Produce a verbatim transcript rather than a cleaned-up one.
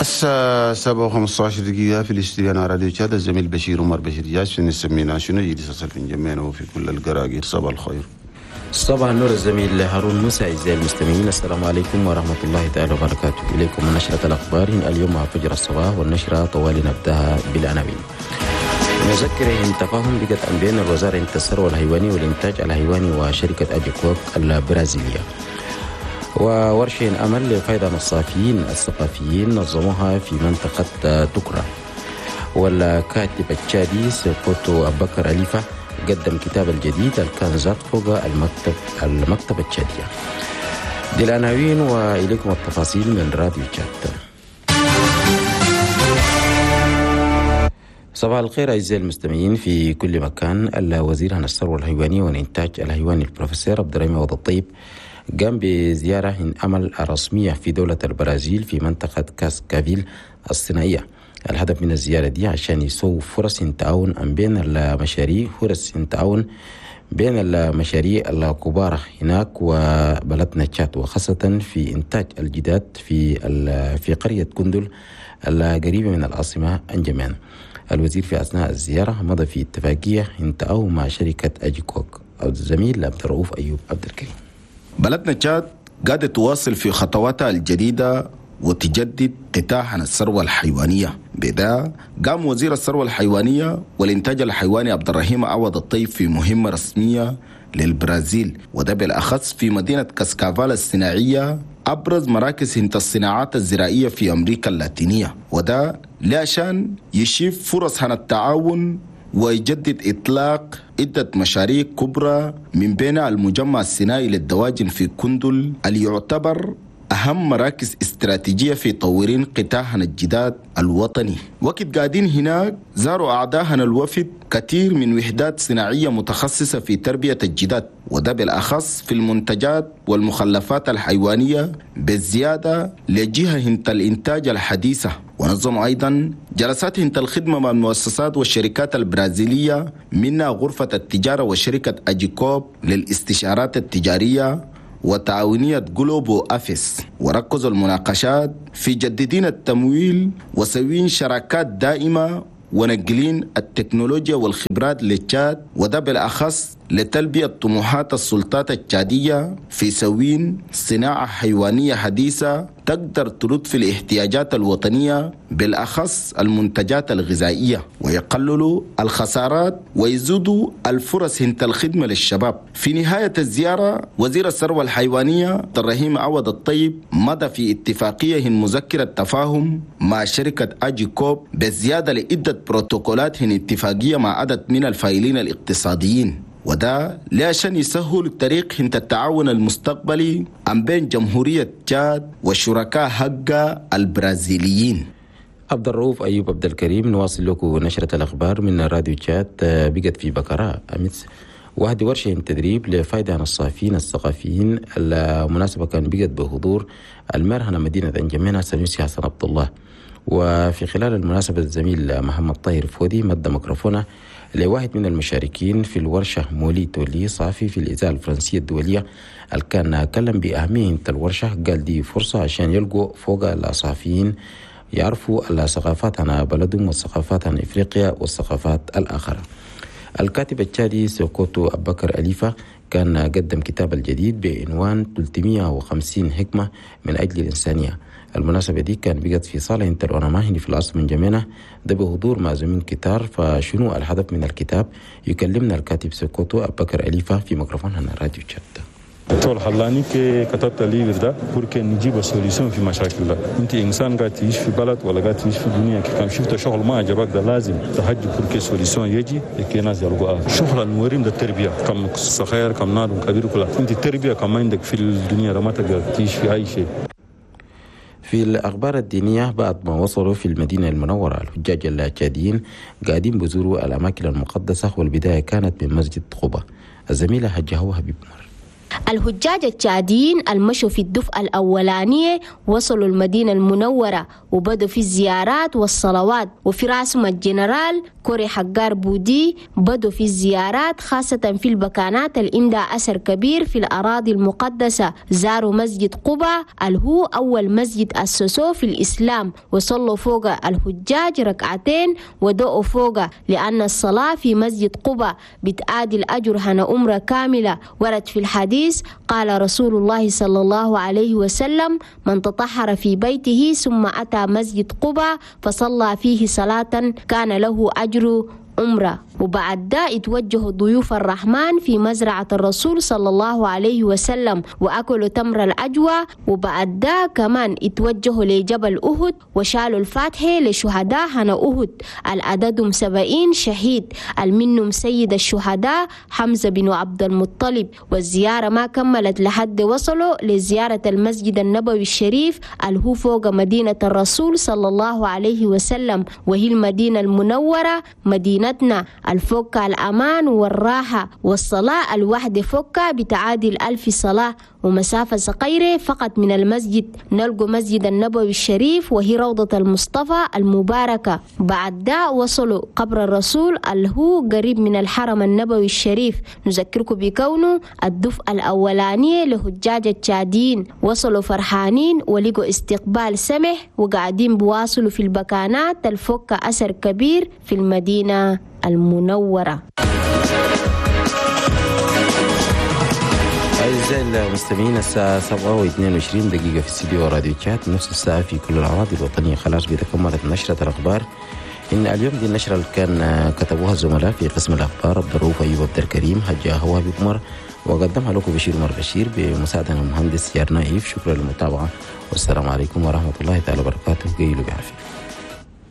الساعة سبعة وخمسة عشر دقيقة في الاستديو راديو تشاد، الزميل بشير عمر بشير جاش نسمينا شنو جديد في جميعنا وفي كل القراقير. صباح الخير. صباح النور الزميل هارون موسى. أعزائي المستمعين، السلام عليكم ورحمة الله تعالى وبركاته. إليكم نشرة الأخبار اليوم مع فجر الصباح، والنشرة طوال نبدأها بالعناوين. مذكرة تفاهم بقت بين الوزارة الثروة الحيواني والإنتاج الحيواني وشركة أجيكوب البرازيلية. وورشة أمل لفائدة الصحفيين الثقافيين نظموها في منطقة تكرا. والكاتب التشادي سيكوتو أبكر أليفة قدم كتاب الجديد الكنزات فوق المكتب المكتبة التشادية. دي العناوين وإليكم التفاصيل من راديو تشاد. صباح الخير أعزائي المستمعين في كل مكان. الوزير عن الثروة الحيوانية والإنتاج الحيواني البروفيسور عبد الرحيم عوض الطيب قام بزيارة عمل رسمية في دولة البرازيل في منطقة كاسكافيل الصناعية. الهدف من الزيارة دي عشان يسووا فرص تعاون بين المشاريع فرص تعاون بين المشاريع الكبار هناك وبلدنا تشاد، وخاصة في إنتاج الجداد في في قرية كندل القريبة من العاصمة أنجمان. الوزير في أثناء الزيارة مضى في اتفاقية انتهوا مع شركة أجيكوك. الزميل عبد الرؤوف أيوب عبد الكريم. بلدنا تشاد قاعدة تواصل في خطواتها الجديدة وتجدد قطاع الثروة الحيوانية. بدا قام وزير الثروة الحيوانية والإنتاج الحيواني عبد الرحيم عوض الطيب في مهمة رسمية للبرازيل، وده بالأخص في مدينة كاسكافال الصناعية، أبرز مراكز هنت الصناعات الزراعية في أمريكا اللاتينية، وده لعشان يشيف فرص عن التعاون ويجدد إطلاق عدة مشاريع كبرى من بين المجمع الصناعي للدواجن في كندل اللي يعتبر أهم مراكز استراتيجية في تطوير قطاع الجداد الوطني. وقت قاعدين هناك زاروا أعداء الوفد كثير من وحدات صناعية متخصصة في تربية الجداد، وده بالأخص في المنتجات والمخلفات الحيوانية بالزيادة لجهة هنت الإنتاج الحديثة. ونظموا أيضا جلسات هنت الخدمة مع المؤسسات والشركات البرازيلية، منها غرفة التجارة وشركة أجيكوب للاستشارات التجارية وتعاونية جلوبو أفيس. وركزوا المناقشات في جددين التمويل وسوين شراكات دائمة ونقلين التكنولوجيا والخبرات للتشاد، وده بالأخص لتلبية طموحات السلطات التشادية في سوين صناعة حيوانية حديثة تقدر ترد في الاحتياجات الوطنية بالأخص المنتجات الغذائية، ويقللوا الخسارات ويزيدوا الفرص هنت الخدمة للشباب. في نهاية الزيارة وزير الثروة الحيوانية عبد الرحيم عوض الطيب مضى في اتفاقية مذكرة تفاهم مع شركة أجيكوب بالزيادة لعدة بروتوكولات اتفاقية مع عدد من الفاعلين الاقتصاديين، وده لعشان يسهل الطريق هنت التعاون المستقبلي عن بين جمهورية تشاد والشركاء حقا البرازيليين. عبد الرؤوف أيوب عبد الكريم. نواصل لكم نشرة الأخبار من راديو تشاد. بقت في بكرة أمس واحد ورشة تدريب لفائدة عن الصحفيين الثقافيين. المناسبة كان بقت بحضور المرهنة مدينة أنجمينة سنوسي حسن عبد الله. وفي خلال المناسبة الزميل محمد طاهر فودي مد ميكروفونه لواحد من المشاركين في الورشة مولي تولي صحفي في الإذاعة الفرنسية الدولية اللي كان كلم بأهمية الورشة. قال دي فرصة عشان يلقوا فوق الصحفيين يعرفوا الثقافات عن بلدهم والثقافات عن إفريقيا والثقافات الآخرة. الكاتب التشادي سيكوتو أبكر أليفة كان قدم كتاب الجديد بعنوان ثلاثمئة وخمسين حكمة من أجل الإنسانية. المناسبة دي كان بقت في صالة انتر في العاصمة انجمينة، ده بحضور معزومين كتار. فشنو الهدف من الكتاب؟ يكلمنا الكاتب سيكوتو أبكر أليفة في ميكروفون هنا راديو تشاد. طول خلاني كي كتبت livre ده pour que نجيب solution في مشاكل ده. انت انسان قاعد تعيش في بلد ولا قاعد تعيش في دنيا، كان شفت شغل ما عجبك ده لازم تهجي pour que solution يجي كي ناس يلقوها. شغل الموريم ده التربيه، كم صغير كم نار كبير كلها انت التربيه كم عندك في الدنيا ما تقدر تعيش في اي شيء. في الأخبار الدينية، بعد ما وصلوا في المدينة المنورة الحجاج التشاديين قاعدين بزوروا الأماكن المقدسة، والبداية كانت من مسجد قباء. الزميلة هجهوها حبيب عمر. الحجاج التشاديين المشوا في الدفعة الأولانية وصلوا المدينة المنورة وبدوا في الزيارات والصلوات، وفي راسهم الجنرال كوري حجار بودي بدوا في الزيارات خاصة في البكانات اللي عندها أثر كبير في الأراضي المقدسة. زاروا مسجد قباء اللي هو أول مسجد أسسوه في الإسلام، وصلوا فوق الحجاج ركعتين ودعوا فوق، لأن الصلاة في مسجد قباء بتعادل الأجر هنا أمرة كاملة. ورد في الحديث قال رسول الله صلى الله عليه وسلم: من تطهر في بيته ثم أتى مسجد قباء فصلى فيه صلاة كان له أجر عمرة. وبعد ده اتوجهوا ضيوف الرحمن في مزرعة الرسول صلى الله عليه وسلم وأكلوا تمر الأجوى. وبعد ده كمان اتوجهوا لجبل أهد وشالوا الفاتحة لشهداء هنا أهد، العددهم سبعين شهيد، المنهم سيد الشهداء حمزة بن عبد المطلب. والزيارة ما كملت لحد وصلوا لزيارة المسجد النبوي الشريف اللي هو فوق مدينة الرسول صلى الله عليه وسلم، وهي المدينة المنورة مدينتنا الفوكة الأمان والراحة، والصلاة الواحدة فوكة بتعادل ألف صلاة، ومسافة صغيرة فقط من المسجد نلقوا مسجد النبوي الشريف وهي روضة المصطفى المباركة. بعد ده وصلوا قبر الرسول اللي هو قريب من الحرم النبوي الشريف. نذكركم بكونه الدفعة الأولانية لحجاج التشاديين وصلوا فرحانين ولقوا استقبال سمح، وقاعدين بواصلوا في البكانات الفوكة أثر كبير في المدينة المنورة. أعزائي المستمعين، الساعة سبعة واثنين وعشرين دقيقة في استديو راديو تشاد، نفس الساعة في كل الأراضي الوطنية. خلاص بتكملت نشرة الأخبار. إن اليوم دي النشرة اللي كان كتبوها الزملاء في قسم الأخبار عبد الرؤوف أيوب عبد الكريم هجا هوابي عمر، وقدمها لكم بشير عمر بشير بمساعدة المهندس يارنايف. شكرا للمتابعة، والسلام عليكم ورحمة الله تعالى وبركاته. قيلوا بعافية.